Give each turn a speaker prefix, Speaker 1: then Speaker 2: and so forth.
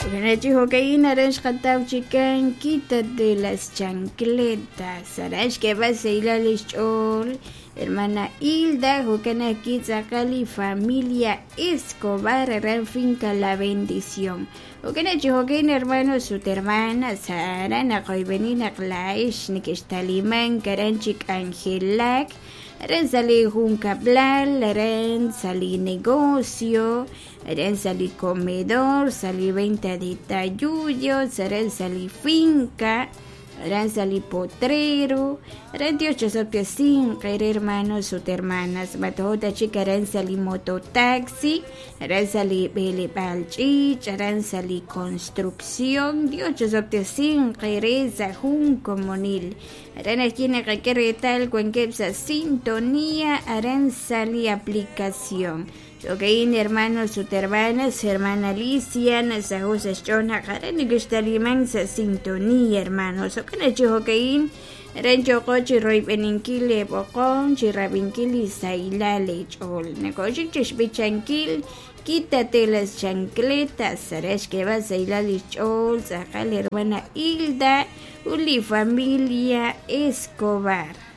Speaker 1: Chi jo'ka'in aran xqataw chikan Quítate las chancletas aran xk'eeb'al xsahilal li xch'ool hermana Hilda jo'kan ajwi' tz'aqal li familia Escobar aran Finca La Bendición. Jo'kan chi jo'ka'in hermanos ut hermanas aran naqoyb'eni naq laa'ex neke'xtalimank aran chi k'anjelak aran sa' li junkab'lal aran sa' li negocio aran sa' li comedor sa' li venta de tayuyos aran sa' li finca aran sa' li potrero aran Dios chosob'tesinq eere hermanos ut hermanas mato'o ta chik aran sa' li mototaxi aran sa' li b'eleb'aal ch'iich' aran sa' li construcción Dios chosob'tesinq eere sa' jun komonil aran ajwi' naqak'e reetal wankeb' sa' sintonía aran sa' li aplicación. Jo'ka'in hermanos ut hermanas, hermana Alicia nasaho' sa' xch'ool naq aran neke'xtalimank sa' sintonía hermanos. Jo'kan chi jo'ka'in aran yooqo chi royb'eninkil leeb'oqom chi rab'inkil li sahilal leech'ool. Nakoxik chi xb'ichankil Quítate las chancletas aran xk'eeb'al sahilal li xch'ool tz'aqal hermana Hilda ut li familia Escobar.